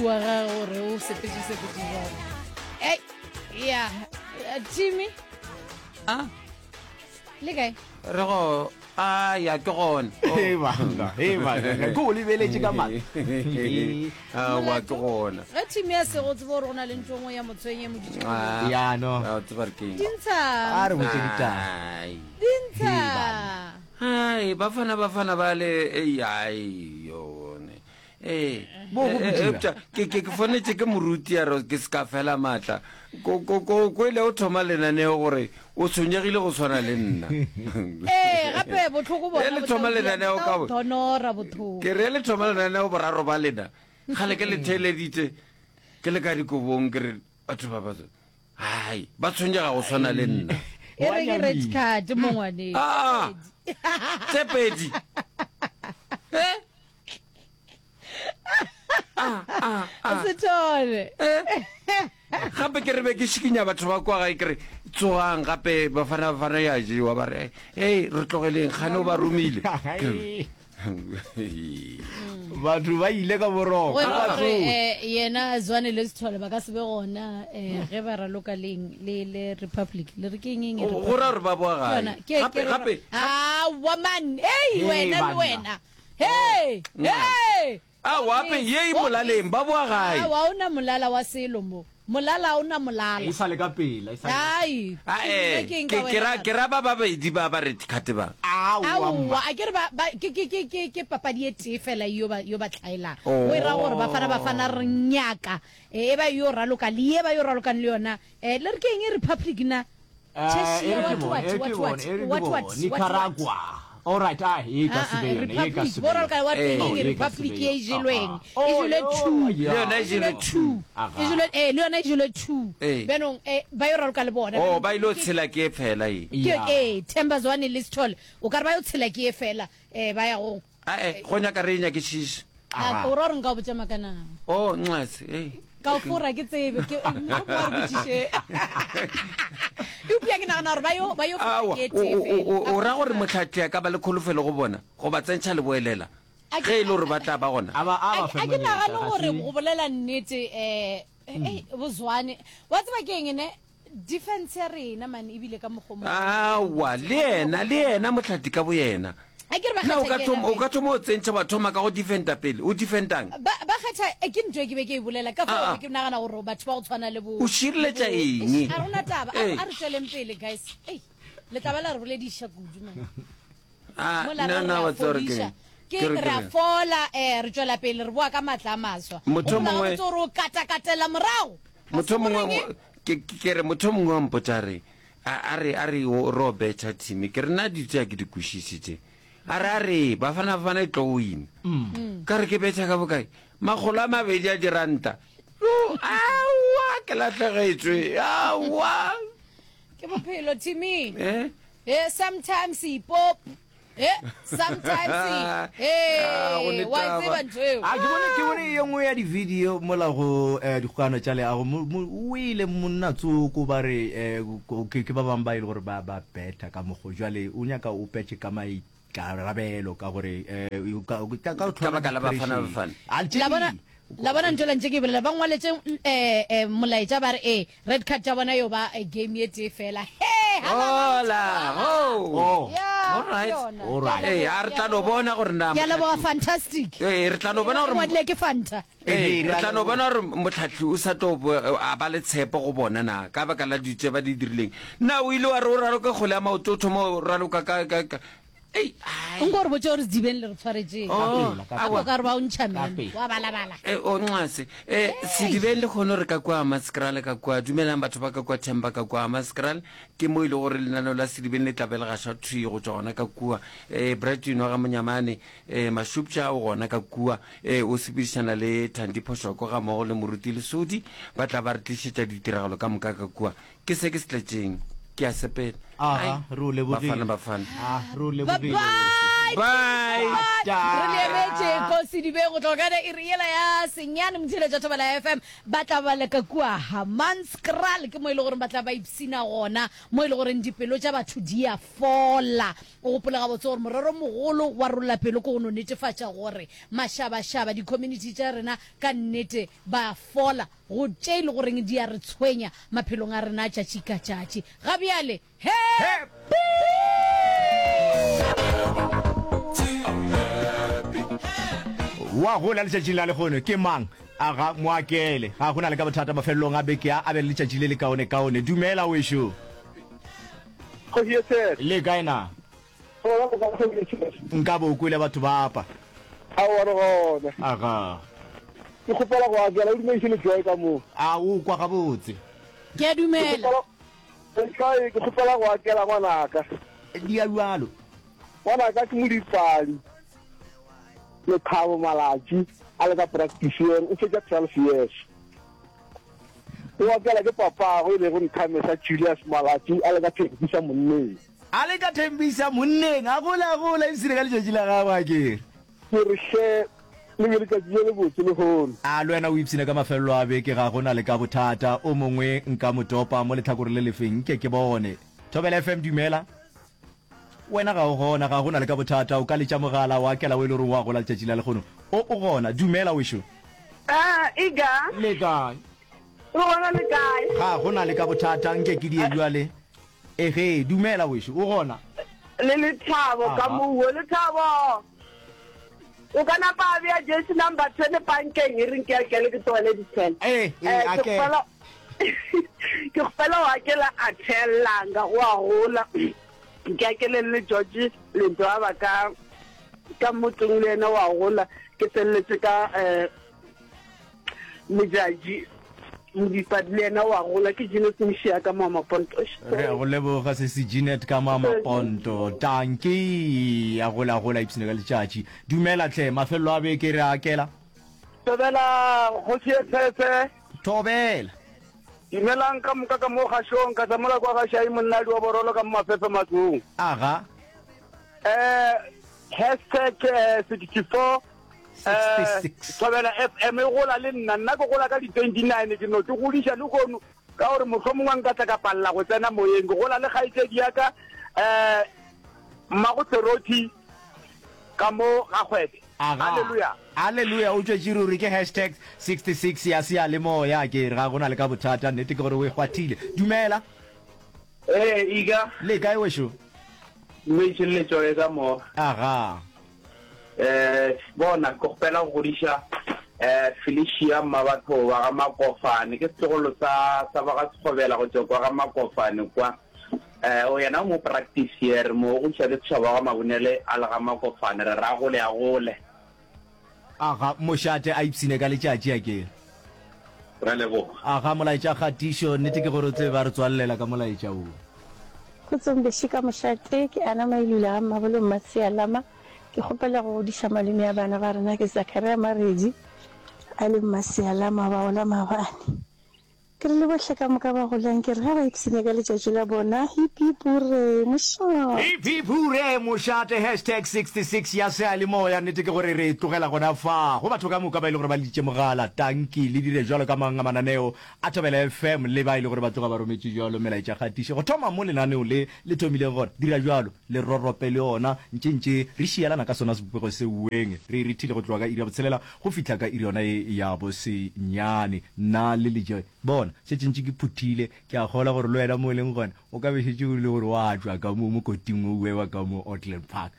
wa gage gore o sepetse sepetse jalo ei ya timmy a le kae re go a ya ke gona Hei banna, hei banna, ke o lebeletše ka maatla. Aowa ke gona. Ge Timmy a sego tsebe gore go na le ntho e nngwe ya motshwenye e mo dutše ka Ah, Ya, no. a o tseba re keng. Dintsha. A re botše ditaba. Ai. Dintsha. Hei banna. Ai, bafana bafana ba le ei ai yone. Ee. Bo go Eh, eh, kitima. eupša ke ke ke fonetše ke moruti a re ke se ka fela maatla. Ko ko ko ko ile o thoma lenaneo gore o tshwenyegile go swana le nna. Ee, gape bohloko bona E le bo tla thoma o dia- lenaneo bo tla ka o bo- donora bothoko. Ke re le thoma lenaneo boraro ba lena. Kgale ke le theeleditše ke le ka dikobong ke re batho ba ba hai ba tshwenyega go swana le nna. E re ke red card mo ngwaneng. Ah! Tse pedi. Eh? Ah, ah, ah. Sethole. Eh? Gape ke re be ke šikinya batho ba kwa gae ke re tsogang gape bafana bafana ya jewa ba re hey re tlogeleng kgane o ba romile. Ke re, Batho ba ile ka boroko. Go e Ba gore tsoge. eh, yena Zwane le Sethole ba ka se be gona eh, ge ba raloka leng le le Republic le re ke eng eng Go ra gore ba boa Ke gae. yona, ke- Gape ke re- gape Aowa man, hey Hey, wena le banna. wena. Hey! Hey! Aowa ape ye e molaleng ba boa gae. Aowa o na molala wa selo mo. Molala o na molala. E sa le ka pela, e sa le ka Ai. Ae, Ke eng ke ka ke ra wena? ke ra ba babedi ba ba red card ba. Aowa Aowa, mma. a ke re ba ba ke ke ke ke ke papadi e tee fela yo ba yo ba tlhaelang. Oh. O e ra gore Bafana Bafana re nyaka e ba yo raloka le ye ba yo ralokang le yona. Eh le re ke eng e Republic na? Eh, Cheshire, e re what, ke bone, what, e re what, ke what, bone, e re ke what, what, bone. what, Nicaragua. what? All right, ah, e ka Ah, se ah, be yone, e ka Republic, se be bo raloka yone. what Eh. eng Oh, e ka se Republic be ye e yone. jelweng. Ah, E ah. Oh, jelwe yo, two. yeah. Le yona e E jelwe jelwe two. Aga. E jelwe eh le yona e jelwe two. Eh. Bjanong eh ba yo raloka le bona. Oh, ba ile go Ke- tshela ke e fela e. ke Yeah. ee Themba Zwane le Sithole o ka re ba yo tshela ke e fela eh ba ya go Ae, go nyaka re e nyakišiše. A, o ra gore nka o botša maaka na? Oh, nxase, ei. Ka o fora ke tsebe, ke mohlomongwe a re botšiše. Eupša ke nagana gore ba yo ba yo fora Aowa, ke o, tee o, fela. o, o ra gore mohlahli a ka ba le kholofelo go bona, go ba tsentšha leboelela, A ke- ge e le gore ba tla ba gona? A ba a ba A fe ke monyetla, nagane ga gore se- go bolela nnete um ei bozwane wa tseba ke eng ne Defense ya rena man ebile ka mokgo mo. Aowa, le yena, le yena Mohlati ka boyena. A ke re ba Na o kgetha ka ke thoma, yena o ka thoma o tsentšha wa thoma ka go defenda pele, o defendang? Ba ba kgetha eh, ke ntho e ke be ke e bolela ka fao Ah, ah. be ke nagana gore batho ba go tshwana le bo O šireletša le bo- eng? Eish, a rona taba a Ee. a re tšweleng pele guys. Ei, le tla ba la re bolediša kudu man. Ah, Mola na re na re wa a tseba gore ke fodiša. eng? Ke Ke re re ke a reng? fola eh re tšwela pele re boa ka matla a maswa. Motho O gopola mongwe- gabotse gore o katakatela morago. Ga Motho se mongwe goreng? ke ke re motho mongwe wa mpotša re a a re a re o ro betšha team ke re nna dilo tše a ke di kwešiše tše a re a re bafana bafana e tlo wina ka re ke betšha ka bokae makgolo a mabedi a diranta yo aowa ke lahlegetšwe aowa Ke bophelo Timmy. eh Eh sometimes ipop Eh, sometimes Ah, go eh ne wa e taba. tseba ntho eo. A ke bone ke bone ye nngwe ya di-video mola go eh, dikgokano tša leago mo- mo- o ile monna tsoko ba re eh, ko- ke ke ba bangwe ba e le gore ba ba betha ka mokgo jwale o nyaka o petše ka maikarabelo ka gore eh, o ka ka- ka o Ka baka la Bafana depression. Bafana. A tše La bona di- la bona ntho la ntse ke e bolela ba ngwaletše eh eh molaetša ba re eh red card tša bona yo ba eh, game ye tee fela. He hola ho Oh. Yeah, All right. ke yona. All right. Ke a ee leboga, a re ke a tla no leboga. bona gore na Ke a leboga fantastic. ee re tla no bona E gore ngwadile ke Fanta. Ee, re tla no bona gore motlhahli o sa tlo bo- a ba le tshepo go bona na ka baka la dilo tše ba di dirileng na o ile wa re o raloka kgwele ya maoto o thoma o raloka ka ka ka ei ai. Nko re botse gore sedibeng le re tshwaretšeng. Oh, pela, ka aowa. Ka ka re ba o ntšha Ka meno. pela. Wa balabala. Eh, o nxase eh sedibeng le kgone re ka kua Hammanskraal ka kua dumelang batho ba ka kua Themba ka kua Hammanskraal ke mo e le gore lenaneo la sedibeng le tla be le gašwa thwi go tšwa gona ka kua eh Brighton wa ga Monyamane eh Mashupša o gona ka kua eh o sepedišana le Thandi Phoshoko ga mmogo le Moruti Lesodi ba tla ba re tlišetša ditiragalo ka moka ka kua ke se ke se tletšeng ke a sepela Aga, re o lebogile. bafana bafana Ah, re o Bye lebogile. bye. Bye. Bye. Bye. Re le emetše ko Sedibeng go tloga ka iri yela ya senyane motheeletša Thobela FM ba tla ba le ka kua Hammanskraal ke mo e le goreng ba tla ba ipsina gona mo e le goreng dipelo tša batho di a fola. O gopole gabotse gore morero mogolo wa Rolla Pelo ke go no netefatša gore mašabašaba, di-community tša rena ka nnete ba fola go tše e le goreng di a re tshwenya maphelong a rena a tšatši ka tšatši. Ga bjale, happy! Wa gola letšatšing la lehono ke mang? Aga, moakele. Ga go na le ka bothata mafelelong a beke a, a be le letšatši le lekaonekaone. Dumela wešo. Kgoši ye Tshele. Le kae na? Gona go ka Kgoši ye Tshele. Nka bo o kwele batho ba apa. Aowa re gona. Aga. Ke kgopela go akela o dumediše le Joy ka moo. A o kwa gabotse? Ke a dumela. Joy, ke kgopela go akela ngwanaka. Di a bjalo. Ngwanaka ke modipadi. Lethabo Malatši a le ka practice year o fetša 12 years. O akela ke papagwe e lego Nthamesa Julius Malatši a le ka Thembisa monneng. A le ka Thembisa monneng, a gola a gola ipshine ka letšatši la gagwe a kere. Ke re hle le be letšatši le lebotse lehono. A le wena o ipshine ka mafelelo a beke ga go na le ka bothata o mongwe nka mo topa mo lehlakoreng le lefeng nke ke bone. Thobela FM dumela. Wena ga o gona, ga go na le ka bothata, o ka letša mogala wa kela o e le gore wa gola letšatši la lehono. O, o gona. Dumela, wešo. Ah, Iga. Le kae? Re gona le kae? Ga go na le ka bothata, nke ke die bjale. Ege, dumela, wešo. O gona? Le Lethabo ka mouo. Lethabo! O ka napa a bea jersey number 10 pankeng e reng ke akele ke tlogele di 10. Eh, eh, eh, akela. Ke kgopela o akela a thelanga go a gola. Ke akeleng le George Lento a ba ka ka motseng le yena wa gola. Ke felletse ka eh Modjadji Modipadi le yena wa gola. Ke Jeanette Mošia ka Mama Ponto. Re a go leboga sesi Jeanette ka Mama Ponto. Tanki a gola gola ipsene ka letšatši. Dumela hle, mafelelo a beke re a akela. Thobela kgoši ye tshese. Thobela. Dumelang ka moka ka mo kgašong, ka tsamola kwa ga Shai monnadi wa Borolo ka mo Mafefe matlong. Aga. Eh, hashtag eh, 64 eh, 66. Thobela FM e gola le nna, nna ke gola ka di 29 ke no ke godiša le kono ka gore mohlomongwe nka tla ka palela go tsena moyeng. Ke gola le kgaetšedi ya ka eh, Mmago Serothi ka mo ga Kgwebe. Aga. Haleluya. Haleluya, o tšwetše ruri ke hashtag 66 ya seyalemoya. Ke re ga go na le ka bothata, nnete ke gore o e kgwathile. Dumela. Ee, Ika. Le kae wešo? Mmetše le Joy ka mo. Aga. Eh, bona, ke kgopela go godiša eh Felicia Mmabatho wa ga Makofane. Ke setlogolo sa sa ba ga Sekgobela go tšwa kwa ga Makofane kwa. Eh, o yena o mo practice here mo go iša ke setšhaba wa ga Mabunele a le ga Makofane. Re ra gole a gole. Aga, mošate a ipshine ka letšatši a ke. Ra leboga. Aga, molaetša kgatišo, nnete ke gore o tsebe ba re tswalelela ka molaetša wo. Kgotsong bešo ka mošate, ke Anna Mailula ga Mmabolo Mmasealama. Ke kgopela go godiša malome a bana ba rena ke Zachariah Maredi a le Mmasealama ba gola maabane. Ke re le bohle ka moka ba golang ke re ge ba ipshine ka letšatši la bona hip hip hurray mošate. Hip hip hurray mošate hashtag 66 ya seyalemoya nnete ke gore re e tlogela gona fa go batho ka moka ba e le gore ba leditše mogala tanki le dire jwalo ka mang a mananeo a Thobela FM le ba e le gore ba tloga ba rometše jwalo melaetša kgatišo go thoma mo lenaneo le le thomileng gona dira jwalo le rorope le yona ntše ntše re šielana ka sona sebopego se weng re e rethile go tloga ka iri ya botshelela Go fihla ka iri yona ye ya bosenyane, nna le Lejoe, bona, šetše ntše ke phuthile, ke a kgolwa gore le wena mo o leng gona, o ka be šetše o le gore wa tšwa ka mo mokoting wo wa ka mo Auckland Park.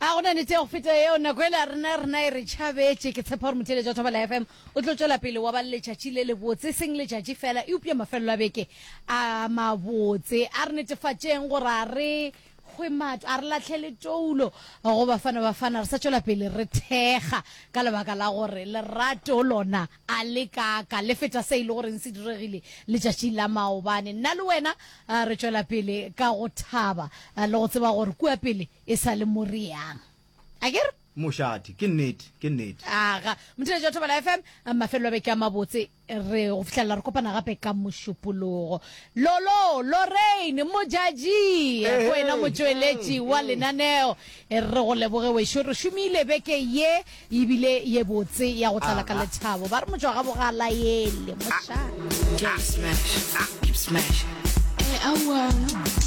A go na nete ya go feta yeo? Nako yela rena, rena e re tšhabetše. Ke tshepa gore motheeletši wa Thobela FM o tlo tšwela pele wa ba le letšatši le lebotse, e seng letšatši fela, eupša mafelelo a beke a mabotse. A re netefatšeng gore a re Hwe matho, a re lahlele toulo go Bafana Bafana, re sa tšwela pele re thekga ka lebaka la gore lerato lona a le kaaka, le feta se e le goreng se diregile letšatšing la maobane. Nna le wena re tšwela pele ka go thaba le go tseba gore kua pele e sa le mo re yang. Akere? Mošate, ke nnete, ke nnete. Aga, motheletši wa Thobela FM, mafelelo a beke a mabotse. Re go fihlelela re kopana gape ka Mošupologo. Lolo, Lorraine, Modjadji, ko wena motšweletši wa lenaneo. Re go leboge wešo, re šomile beke ye ebile ye botse ya go tlala ka lethabo. Ba re motšwa ga bogala yele, mošate. Keep smash, keep smash. Eh, aowa.